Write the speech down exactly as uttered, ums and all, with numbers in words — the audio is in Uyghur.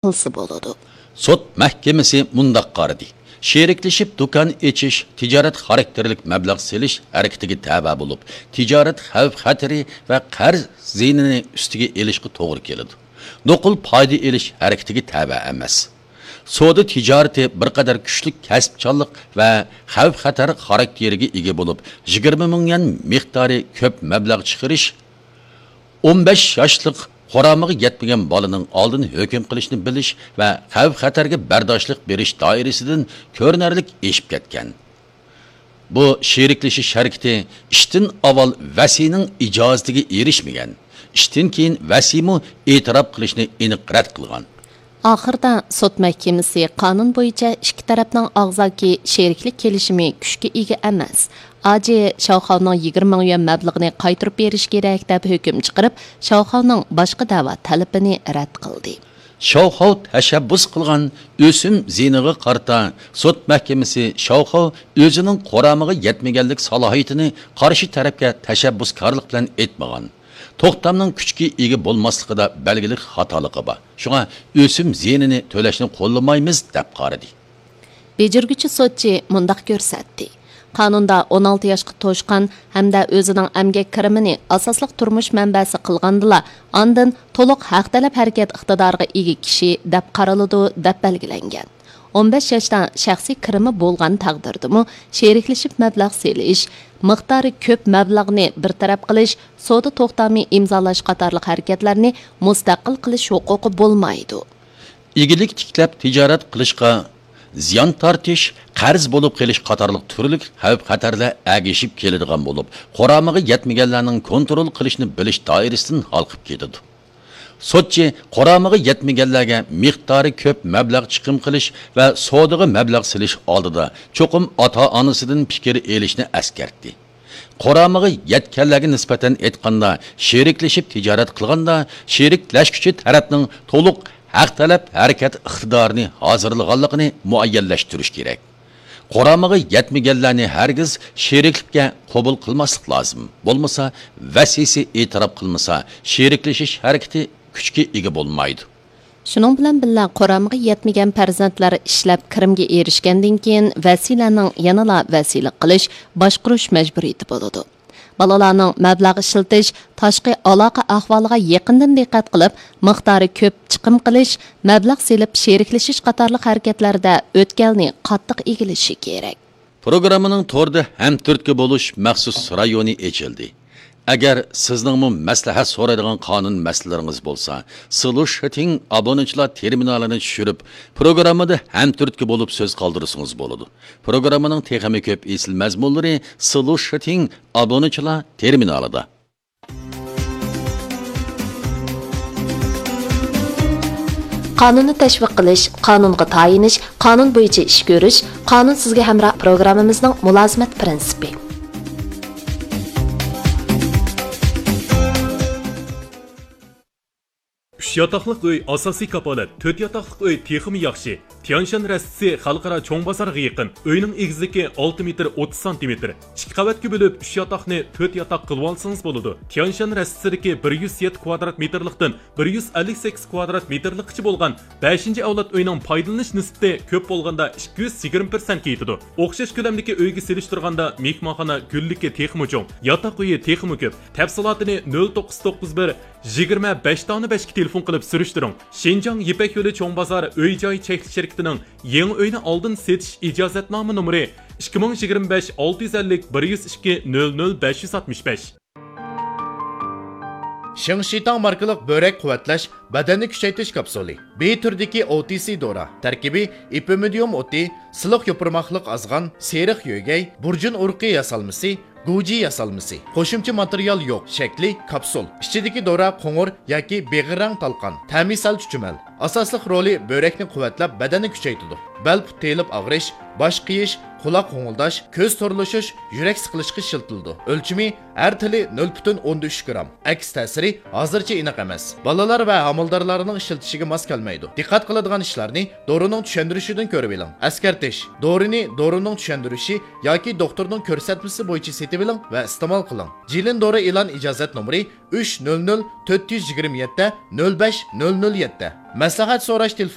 قىلسا بولىدۇ. سوت مەھكىمىسى مۇنداق قارىدى: شېرىكلىشىپ دۇكان ئېچىش تىجارەت خاراكتېرلىك مەبلەغ سېلىش ھەرىكىتىگە تەۋە بولۇپ، تىجارەت خەۋپ-خەتىرى ۋە قەرز زىيىنىنى ئۈستىگە ئېلىشقا توغرا كېلىدۇ. نوقۇل پايدا ئېلىش ھەرىكىتىگە تەۋە ئەمەس. سودا تىجارىتى بىر قەدەر كۈچلۈك كەسىپچانلىق ۋە خەۋپ-خەتەر خاراكتېرىگە ئىگە بولۇپ، يىگىرمە مىڭ يۈەن مىقدارى كۆپ مەبلەغ چىقىرىش، ئون بەش ياشلىق قۇرامىغا يەتمىگەن بالىنىڭ ئالدىنى ھۆكۈم قىلىشنى بىلىش ۋە خەۋپ-خەتەرگە بەرداشلىق بېرىش دائىرىسىدىن كۆرۈنەرلىك ئېشىپ كەتكەن. بۇ شېرىكلىشىش ھەرىكىتى ئىشتىن ئاۋۋال ۋەسىينىڭ ئىجازىتىگە ئېرىشمىگەن، ئىشتىن كېيىن ۋەسىيمۇ ئېتىراپ قىلىشنى ئېنىق رەت قىلغان. ئاخىرىدا سوت مەھكىمىسى قانۇن بويىچە ئىككى تەرەپنىڭ ئاغزاكى شېرىكلىك كېلىشىمى كۈچكە ئىگە ئەمەس، ئاجى شاۋخاۋنىڭ يىگىرمە مىڭ يۈەن مەبلىغىنى قايتۇرۇپ بېرىش كېرەك، دەپ ھۆكۈم چىقىرىپ، شاۋخاۋنىڭ باشقا دەۋا تەلىپىنى رەت قىلدى. شاۋخاۋ تەشەببۇس قىلغان ئۆسۈم زىيىنىغا قارىتا سوت مەھكىمىسى شاۋخاۋ ئۆزىنىڭ قۇرامىغا يەتمىگەنلىك سالاھىيىتىنى قارشى تەرەپكە تەشەببۇسكارلىق بىلەن ئېيتمىغان. توختامنىڭ كۈچكە ئىگە بولماسلىقىدا بەلگىلىك خاتالىقى بار. شۇڭا ئۆسۈم زىيىنىنى تۆلەشنى قوللىمايمىز، دەپ قارىدى. بېجىرگۈچى سوتچى مۇنداق كۆرسەتتى: قانۇندا ئون ئالتە ياشقا توشقان ھەمدە ئۆزىنىڭ ئەمگەك كىرىمىنى ئاساسلىق تۇرمۇش مەنبەسى قىلغاندىلا، ئاندىن تولۇق ھەق تەلەپ ھەرىكەت ئىقتىدارىغا ئىگە كىشى دەپ قارىلىدۇ، دەپ بەلگىلەنگەن. ئون بەش ياشتا شەخسىي كىرىمى بولغان تەقدىردىمۇ، شېرىكلىشىپ مەبلەغ سېلىش، مىقدارى كۆپ مەبلەغنى بىر تەرەپ قىلىش، سودا توختامى ئىمزالاش قاتارلىق ھەرىكەتلەرنى مۇستەقىل قىلىش ھوقۇقى بولمايدۇ. ئىگىلىك تىكلەپ تىجارەت قىلىشقا زىيان تارتىش، قەرز بولۇپ قېلىش قاتارلىق تۈرلۈك خەۋپ-خەتەرلەر ئەگىشىپ كېلىدىغان بولۇپ، قۇرامىغا يەتمىگەنلەرنىڭ كونترول قىلىشنى بىلىش دائىرىسىدىن ھالقىپ كېتىدۇ. سوتچى قۇرامىغا يەتمىگەنلەرگە مىقدارى كۆپ مەبلەغ چىقىم قىلىش ۋە سودىغا مەبلەغ سېلىش ئالدىدا چوقۇم ئاتا-ئانىسىدىن پىكىر ئېلىشنى ئەسكەرتتى. قۇرامىغا يەتكەنلەرگە نىسبەتەن ئېيتقاندا، شېرىكلىشىپ تىجارەت قىلغاندا، شېرىكلەشكۈچى تەرەپنىڭ تولۇق ھەق تەلەپ ھەرىكەت ئىقتىدارىنى ھازىرلىغانلىقىنى مۇئەييەنلەشتۈرۈش كېرەك. قۇرامىغا يەتمىگەنلەرنى ھەرگىز شېرىكلىككە قوبۇل قىلماسلىق لازىم. بولمىسا، ۋەسىيسى ئېتىراپ قىلمىسا، شېرىكلىشىش ھەرىكىتى كۈچكە ئىگە بولمايدۇ. شۇنىڭ بىلەن بىللە، قۇرامىغا يەتمىگەن پەرزەنتلەر ئىشلەپ كىرىمگە ئېرىشكەندىن كېيىن، ۋەسىيلەرنىڭ يەنىلا ۋەسىيلىك قىلىش، باشقۇرۇش مەجبۇرىيىتى بولىدۇ. بالىلارنىڭ مەبلەغ ئىشلىتىش، تاشقى ئالاقە ئەھۋالىغا يېقىندىن دىققەت قىلىپ، مىقدارى كۆپ چىقىم قىلىش، مەبلەغ سېلىپ شېرىكلىشىش قاتارلىق ھەرىكەتلەردە ئۆتكەلنى قاتتىق ئىگىلىشى كېرەك. پروگراممىنىڭ توردا ھەمتۈرتكە بولۇش مەخسۇس رايونى ئېچىلدى. ئەگەر سىزنىڭمۇ مەسلىھەت سورايدىغان قانۇن مەسىلىلىرىڭىز بولسا، سلۇشىتىڭ ئابۇنىچىلار تېرمىنالىنى چۈشۈرۈپ، پروگراممىدا ھەمتۈرتكە بولۇپ سۆز قالدۇرسىڭىز بولىدۇ. پروگراممىنىڭ تېخىمۇ كۆپ ئېسىل مەزمۇنلىرى سلۇشىتىڭ ئابۇنىچىلار تېرمىنالىدا. قانۇننى تەشۋىق قىلىش، قانۇنغا تايىنىش، قانۇن بويىچە ئىش كۆرۈش، قانۇن سىزگە ھەمراھ پروگراممىمىزنىڭ مۇلازىمەت پىرىنسىپى. ئۈچ ياتاقلىق ئۆي ئاساسىي كاپالەت، تۆت ياتاقلىق ئۆي تېخىمۇ ياخشى. تيانشان رەستىسى خەلقئارا چوڭ بازارغا يېقىن. ئۆينىڭ ئېگىزلىكى ئالتە مېتىر ئوتتۇز سانتىمېتىر. ئىككى قەۋەتكە بۆلۈپ، ئۈچ ياتاقنى تۆت ياتاق قىلىۋالسىڭىز بولىدۇ. تيانشان رەستىسىدىكى بىر يۈز يەتتە كۋادرات مېتىرلىقتىن بىر يۈز ئەللىك سەككىز كۋادرات مېتىرلىققىچە بولغان بەشىنچى ئەۋلاد ئۆينىڭ پايدىلىنىش نىسبىتى كۆپ بولغاندا ئىككى يۈز يىگىرمە پىرسەنتكە يېتىدۇ. ئوخشاش كۆلەمدىكى ئۆيگە سېلىشتۇرغاندا مېھمانخانا گۈللۈكى تېخىمۇ چوڭ، ياتاق ئۆيى تېخىمۇ كۆپ. تەپسىلاتىنى نۆل توققۇز توققۇز بىر، يىگىرمە بەش تاغنى بەشكە تېلېفون قىلىپ سۈرۈشتۈرۈڭ. شىنجاڭ يىپەك يولى چوڭ بازار ئۆي جاي چەكلىك شىركىتىنىڭ يېڭى ئۆينى ئالدىن سېتىش ئىجازەتنامە نومۇرى ئىككى مىڭ يىگىرمە بەش ئالتە يۈز ئەللىك بىر يۈز ئىككى نۆل نۆل بەش يۈز ئاتمىش بەش. شىڭشىتاڭ ماركىلىق بۆرەك قۇۋۋەتلەش، بەدەننى كۈچەيتىش كاپسۇلى. بى تۈرىدىكى ئو تى سى دورا. تەركىبى ئېپىمىدىيۇم ئوتى، سىلىق يوپۇرماقلىق ئازغان، سېرىق يۆگەي، بۇرجۇن ئۇرۇقى ياسالمىسى، گۇجى ياسالمىسى. قوشۇمچە ماتېرىيال يوق. شەكلى كاپسۇل. ئىچىدىكى دورا قوڭۇر ياكى بېغىر رەڭ تالقان. تەمى سەل چۈچۈمەل. ئاساسلىق رولى بۆرەكنى قۇۋۋەتلەپ، بەدەننى كۈچەيتىدۇ. بەل پۇت تېيىلىپ ئاغرىش، باش قېيىش، قۇلاق غوڭۇلداش، كۆز تورلىشىش، يۈرەك سىقىلىشقا ئىشلىتىلىدۇ. ئۆلچىمى ھەر تىلى نۆل پۈتۈن ئوندىن ئۈچ گرام. ئەكس تەسىرى ھازىرچە ئېنىق ئەمەس. بالىلار ۋە ھامىلىدارلارنىڭ ئىشلىتىشىگە ماس كەلمەيدۇ. دىققەت قىلىدىغان ئىشلارنى دورىنىڭ چۈشەندۈرۈشىدىن كۆرۈۋېلىڭ. ئەسكەرتىش: دورىنى دورىنىڭ چۈشەندۈرۈشى ياكى دوختۇرنىڭ كۆرسەتمىسى بويىچە سېتىۋېلىڭ ۋە ئىستېمال قىلىڭ. جىلىن دورا ئېلان ئىجازەت نومۇرى ئۈچ نۆل نۆل تۆت يۈز يىگىرمە يەتتە نۆل بەش نۆل نۆل يەتتە. مەسلىھەت سوراش تېلېفونى: